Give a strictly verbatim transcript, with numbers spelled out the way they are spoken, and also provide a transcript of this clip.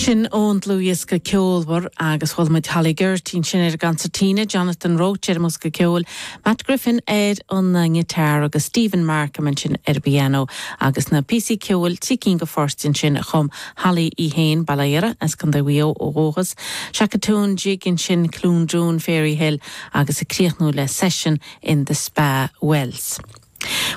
Sin ón dlúthdhiosca ceolmhar agus chuala muid Holly Geraghty sin ar an gconsairtín, Jonathan Roche ar an mbosca ceoil, Matt Griffin ar an ngiotár agus Stephen Markham ansin ar an bpianó agus na píosaí ceoil trí cinn de phoirt ansin a chum Holly í féin Baile as Contae Mhaigh Eo ó dhúchas, Shakatoon Jig ansin Cloondroon Fairy Hill agus ag críochnú le session in the Spa Wells.